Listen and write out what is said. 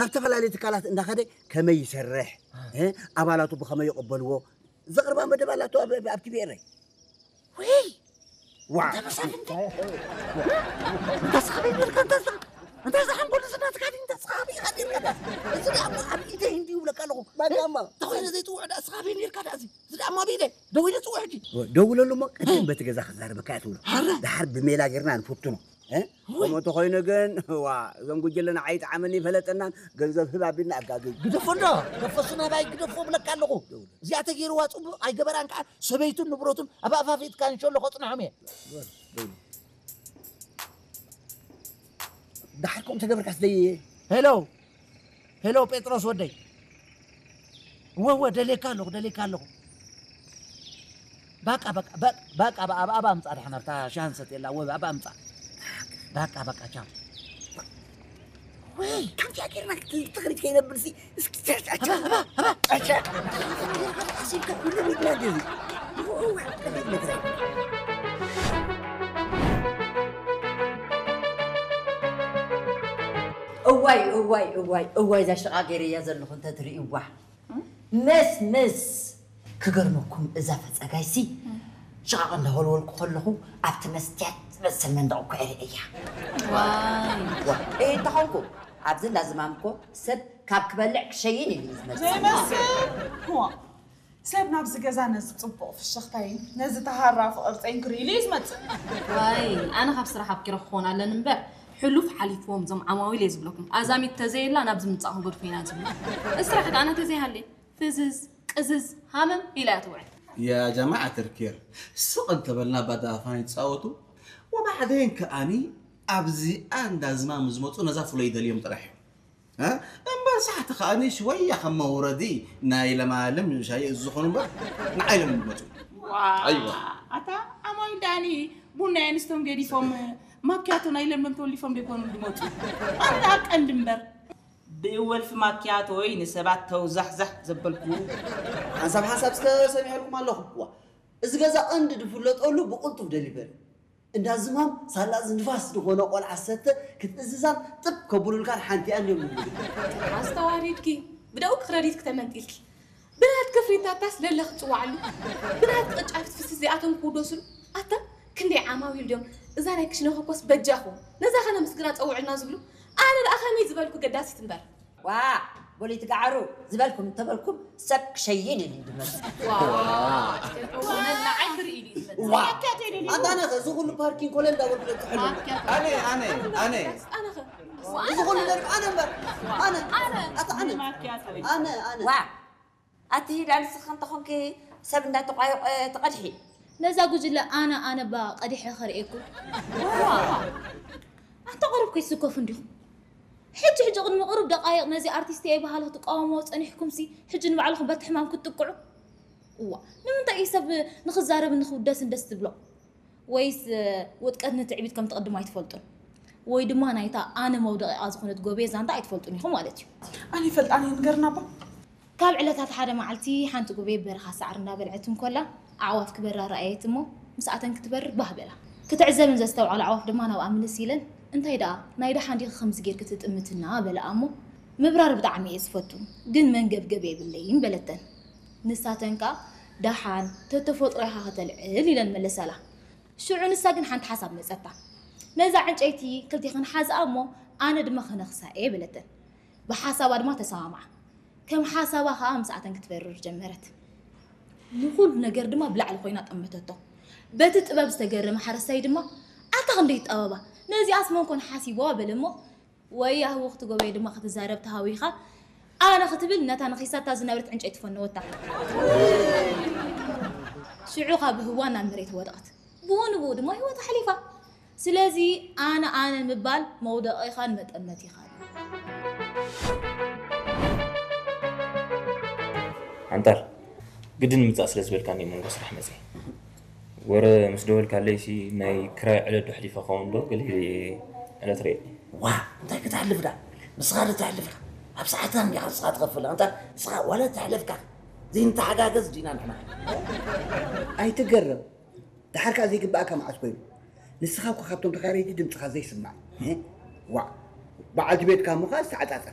ናብ ዝተፈላለዩ ትካላት እንዳኸደ ከመይ ይሰርሕ፣ እ፣ ኣባላቱ ብኸመይ ይቕበልዎ፣ ዘቕርባ መደብ ኣላቶ ኣብ፣ ኣብ ቲቪ ኤረይ። ወይ! ዋ! እንተ ስኻ በይ ነርካ፣ እንተ ስኻ፣ እንተ ስኻ ሓንጎል ስናትካ ድዩ፣ እንተ ስኻ ኣበይ ኢኻ ነርካ ዳ? እዚ ደኣ እሞ ኣብ ኢደይ እንዲዩ ይብለካ ኣለኹ። ባዳማ። እንተ ኾይነ ዘይጽውዕ ደኣ ስኻ በይ ነርካ ደኣ እዚ። እዚ ደኣ እሞ ኣብ ኢደይ። ደው ኢለ ጽውዕ ሕጂ። ደውለሉ እሞ ቅድም በቲ ገዛ ክዛረበካ እያ ትብሎ። ኣረ! ደሓር ብሜላ ጌርና ንፍትኖ። እ? ወይ! ከምኡ እንተኾይኑ ግን፣ ዋ፣ እዞም ጉጅለ ንዓይ ይጥዓመኒ ይፈለጠናን ገንዘብ ህብ ኣቢልና ኣጋግይ። ግደፎ እንዶ፣ ግደፎ እሱ ናባይ ግደፎ እብለካ ኣለኹ። እዚኣ ተገይርዋ ጽቡቕ ኣይገበራን ከኣ ሰበይቱን ንብረቱን ኣብ ኣፋፊትካ እንሸሎ ከጽንሖም እየ። ደሓር ከምኡ ተገበርካስ ደይ ሄሎ፣ ሄሎ ጴጥሮስ ወደይ። እወ፣ እወ፣ ደልየካ ኣለኹ፣ ደልየካ ኣለኹ። በቃ፣ በቃ፣ በቃ፣ በቃ፣ ኣብ፣ ኣብ፣ ኣብ ኣምጻ ደሓን ኣብታ ሻሂ ንሰትየላ፣ እወ፣ ኣብ ኣምጻ። በቃ፣ በቃ፣ ቻው። ወይ፣ ከምዚኣ ጌርና ክት-፣ ትኽሪት ከይነብልሲ፣ እስኪ ቻ-፣ ቻ-፣ ቻ-፣ ኣባ፣ ኣባ፣ ኣባ። ቻ-፣ ቻ-፣ ኣሲብካ ኩሉ ሚድና እንደዚ። እወ፣ እወ፣ እዋይ፣ እዋይ፣ እዋይ፣ እዋይ፣ እዛ ሽቓ ገይረያ ዘለኹ እንተትርእይዋ። ምስ፣ ምስ። ክገርመኩም እዛ ፈጸጋይሲ ሽቓቕ እንዳወልወልኩ ከለኹ ኣብቲ መስትያት ዝመስል መንደቕ እኮ እየ ርእየያ። ዋይ። ዋ፣ እየ እንተኾንኩ ኣብዚ እንዳዝማም እኮ ሰብ ካብ ክበልዕ ክሸይን ኢሉ እዩ ዝመጽእ። ዘይመስል። ዋ፣ ሰብ ናብዚ ገዛ ነዚ ጽቡቕ ፍሽኽታይን ነዚ ተሃራፊ ቅርጸይን ክርኢ ኢሉ እዩ ዝመጽእ። ዋይ፣ ኣነ ካብ ስራሕ ኣብኪረ ክኾን ኣለኒ እምበር፣ ሕሉፍ ሓሊፍዎም እዞም ዓማዊል እየ ዝብለኩም። ኣዛሚት ተዘየላ ናብዚ ምጻእ ክንገድፎ ኢና ዝብሉ። እዚ ስራሕ ከኣ ኣነ ተዘይሃልየ፣ ፍዝዝ፣ ቅዝዝ፣ ሃመም ኢላ እያ ትውዕል። يا جماعة الخير، ስቕ እንተበልና ባዳ ኣፋን ይጻወቱ። ወባዕደን ከኣኒ ኣብዚኣ እንዳ ዝማም ዝመጹ ነዛ ፍሎ ይደልዮም ጥራሕ እዮም። እ? እምበር ሳሕቲ ከኣኒ ሽወያ ከም መውረዲ ናይ ለማልም ሻይ ዝኾኑ እምበር ንዓይ ሎም ዝመጹ። ዋእ! ኣይዋ። ኣታ ኣማዊል ደኣኒ ቡና የንስቶም ገዲፎም ማክያቶ ናይ ለምለም ተወሊፎም ደይኮኑ ዝመጹ። ኣታ ቀንዲ እምበር ብወልፊ ማክያቶይ ንሰባት ተውዛሕዛሕ ዘበልኩ። ሓንሳብ ሓንሳብ እስከ ሰሚዐልኩም ኣለኹ። ዋ፣ እዚ ገዛ ቀንዲ ዝፍለጠሉ ብቕልጡፍ ደሊቨሪ። እንዳ ዝማም ሳላ እዚ ንፋስ ዝኾነ ቆልዓ ሰተ ክትእዝዛን ጥብ ከብሉልካን ሓንቲኣን እዮም ዝብሉ። ኣስተዋሪድኪ፣ ብደኡ ክረዲት ክተመንጢልኪ። ብናትኪ ፍሪታታስ ለለ ክትጽዋዓሉ። ብናትኪ ቅጫ ፍትፍት እዚኣቶም ክውደሱሉ። ኣታ ክንደይ ዓማዊል ድዮም እዛ ናይ ክሽነ ኮኮስ በጃኹም ነዛ ኸነ ምስግና ጸውዕልና ዝብሉ? ኣነ ደኣ ከመይ ዝበልኩ ገዳሲት እምበር። ዋ፣ ቦሊት ጋዕሩ ዝበልኩም እንተበልኩም ሰብ ክሸይን ኢሉ ድመጽእ። ዋ፣ ንዓይ ክርኢ ኢሉ እዩ ዝመጽእ። ዋ፣ ኣታ ነኸ እዚ ኩሉ ፓርኪንግ ኮለ እንዳበልኩ ለትሕሉ። ኣነ፣ ኣነ፣ ኣነ። ኣነ ኸ? እዚ ኩሉ ደርቢ ኣነ እምበር። ኣነ። ኣነ። ኣታ ኣነ። ኣነ፣ ኣነ። ዋ፣ ኣቲ ሂዳ ንስኺ እንተኾንኪ ሰብ እንዳተቋየቆ ትቐድሒ። ነዛ ጉጅለ ኣነ፣ ኣነ ባ ቀዲሐ ከርእየኩም። ዋ፣ ኣንታ ቁሩብ ከይስከፉ እንዲኹም። ሕጂ፣ ሕጂ ቅድሚ ቁሩብ ደቃይቕ ነዚ ኣርቲስት እየ በሃሊ ክትቃወምዎ ጸኒሕኩምሲ፣ ሕጂ ንባዕልኹም በቲ ሕማም ክትጥቅዑ? እዋ፣ ንምንታይ እዩ ሰብ ንኽዛረብን ንኽውደስን ደስ ዝብሎ? ወይስ፣ እ፣ ውድቀት ንትዕቢት ከም ትቕድም ኣይትፈልጡን? ወይ ድማ ናይታ ኣነ መውደቒኣ ዝኾነት ጎቤ ዛንታ ኣይትፈልጡን ኢኹም ማለት እዩ። ኣነ ይፈልጣን እየ፣ ንገርና እባ። ካብ ዕለታት ሓደ መዓልቲ ሓንቲ ጎቤ በረኻ ሳዕሪ እንዳበልዐት እንኮላ፣ ኣዕዋፍ ክበራ ረኣየት እሞ፣ ምስኣተን ክትበርር ባህ በላ። ክትዕዘብን ዘስተውዓላ ኣዕዋፍ ድማ ናብኣ ምልስ ኢለን፣ "እንታይ ደኣ፣ ናይ ደሓን ዲኺ ከምዚ ጌርኪ ትጥምትና?" በላኣ እሞ፣ "ምብራር ብጣዕሚ እየ ዝፈቱ፣ ግን መንገብገብ የብለይን" በለተን። ንሳተን ከኣ፣ "ደሓን፣ ተተፈጥሮ ኢኻ ከተልዕል" ኢለን መለሳላ። ሽዑ ንሳ ግን ሓንቲ ሓሳብ መጸታ። "ነዛ ዕንጨይቲ ክልቴኽን ሓዝኣ እሞ፣ ኣነ ድማ ክነኽሳ እየ" በለተን። ብሓሳባ ድማ ተሰማምዓ። ከም ሓሳባ ከኣ ምስኣተን ክትበርር ጀመረት። ንኹሉ ነገር ድማ ብላዕሊ ኮይና ጠመተቶ። በቲ ጥበብ ዝተገረመ ሓረስታይ ድማ፣ "ኣታ ክንደይ ጠበባ! ነዚኣስ መን ኮን ሓሲብዋ?" በለ እሞ፣ ወያህዊ ክትጎበየ ድማ ክትዛረብ ተሃዊኻ፣ "ኣነ" ክትብል ነታ ነኺሳታ ዝነበረት ዕንጨይቲ ፈነወታ። ሽዑ ካብ ህዋ ናብ መሬት ወደቐት። ብኡ ንብኡ ድማ ህይወታ ሓሊፋ። ስለዚ ኣነ ኣነ ምባል መውደቒኻን መጠመቲኻን እዩ። ኣንጣር፣ ግድን ምጻእ ስለ ዝበልካኒ መንጎ ስራሕ መጺአ። ወረ ምስ ደወልካለይሲ ናይ ክራይ ዕለት ዶ ሕሊፋ ኸውን ዶ ገለ ኢለ ዕለት ርእየ። ዋ፣ እንታይ ከተሕልፍ ዳ? ንስኻ ዶ ተሕልፍካ? ኣብ ሰዓትካ እንዲኻ ንስኻ ትኸፍል። ኣንታ ንስኻ ዋላ ተሕለፍካ ዘይንተሓጋገዝ ዲና ንሕና? ኣይትገረም። ደሓር ከኣ ዘይግብኣካ መዓስ ኮይኑ? ንስኻ እኮ ካብቶም ተኻረይቲ ድምጽኻ ዘይስማዕ። እ? ዋዕ። በዓልቲ ቤትካ እሞ ከኣ ዝተዓጻጸ።